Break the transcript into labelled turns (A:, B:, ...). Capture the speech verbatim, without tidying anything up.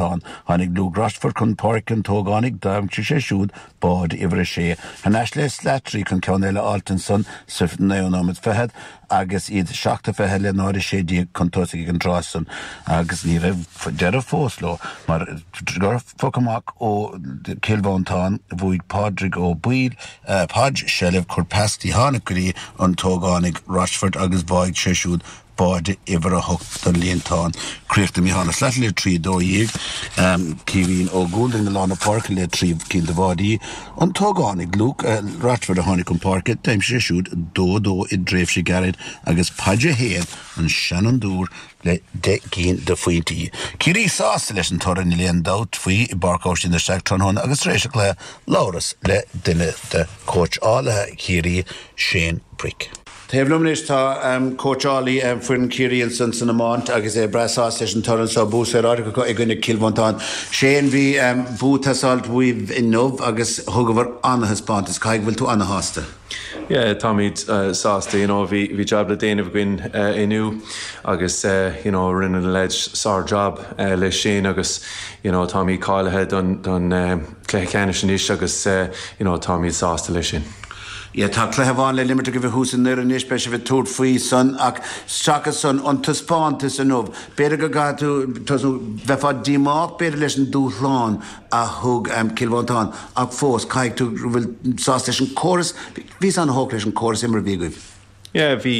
A: Tháinig Luke Rochford chun páirce an t-ógánach d'aimsigh sé siúd báide uimhir a sé. Thar n-ais le Slattery chun ceann eile a fháilt ansan sa naoú nóiméad fichead agus iad seacht a fiche le náid a sé déag chun tosaigh ag an tráth san agus ní raibh deireadh fós leo mar gur phoc amach ó Chill Mhantáin bhuaigh Pádraig Ó Baoill Podge seilbh chuir pas tháinig go dtí an t-ógánach Rochford agus bháigh sé siúd báide uimhir a hocht don líontán. Críochnaigh Mícheál Ó Slattery le trí dó dhéag, Caoimhín Ó Gúlding i lár na páirce le trí cinn de bháidí. An t-ógánach Luke Rochford a tháinig chun páirce, d'aimsigh sé siúd dó a dó i dtréimhse gairid agus Podge a haon, an seanfhondúir le deich gcinn de phointí. Ciarraí sásta leis an toradh, níl aon dabht faoi, i bPáirc Oisín de Staic tráthnóna agus tar éis an chluiche labhras le duine de chóitseálaithe Chiarraí, Shane Brick. Taobh liom anois tá cóitseálaí foireann Chiarraí ansan san iomáint agus é breá sásta leis an toradh seo, bua saoráideach acu i gcoinne Cill Mhantáin. Shane, bhí bua ag teastáilt uaibh inniu agus thugabhair an-thaispeántas. Caithfidh go bhfuil tú ana-shásta?
B: Yeah, táimid sásta, you know, bhí bhí job le déanamh againn inniu agus you know, rinne na lads sár-job leis sin agus you know, táimid cáilithe don don cluiche ceannais anois agus you know, táimid sásta leis sin.
A: Yeah, tá cluiche amháin le himirt agaibh thuas i nDoire anois beidh sibh ag tabhairt faoi san ach seachas san an taispeántas inniu. B'fhéidir go gcaithfidh tú bheifeá díomách b'fhéidir leis an dúshlán a thug um, Cill Mhantáin ach fós caithfidh tú bhfuil sásta leis an córas, bhí an-thógtha leis an córas imeartha a bhí agaibh.
B: Yeah, bhí